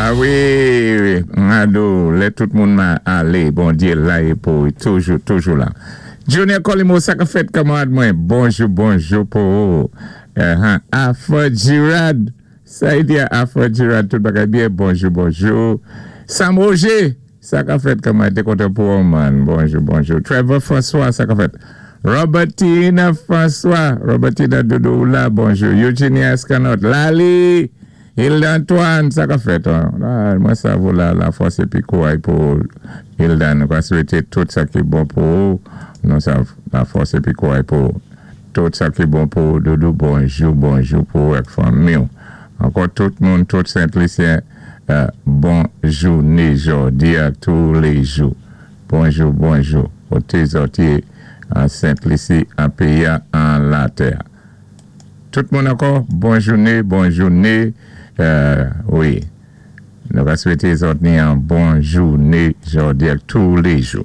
A wi, Mado, lè tout moun ma alé, Bondyé la é pou toujou, toujou la. Junior Colimo, sa ka fèt, kanmarad mwen? Bonjou, bonjou pou ou. Afro Girard, sa y di Afro Girard, tout bagay byen? Bonjou, bonjou. Sam Roger, sa ka fèt, kanmarad? Té kontan pou ou, man. Bonjou, bonjou. Trevor François, sa ka fèt? Robertina François, Robertina doudou la, bonjou. Eugenia Escanot, Lali, Hilda Antoine, sa ka fèt? Mwen sav ou la, lafòs épi kouray pou Hilda. Nou ka swété tout sa ki bon pou ou. Nou sav lafòs épi kouray pou ou. Tout sa ki bon pou ou, doudou, bonjou, bonjou pou ou ak fanmi ou. Ankò tout moun, tout Sent Lisyen, bon jouné jòdi a toulèjou. Bonjou, bonjou. Koté zòt yé an Sent Lisi, an péyi a, an latè. Tout moun ankò, bon jouné, bon jouné. Wi. Nou va swété zòt ni an bon jouné jòdi ak toulèjou.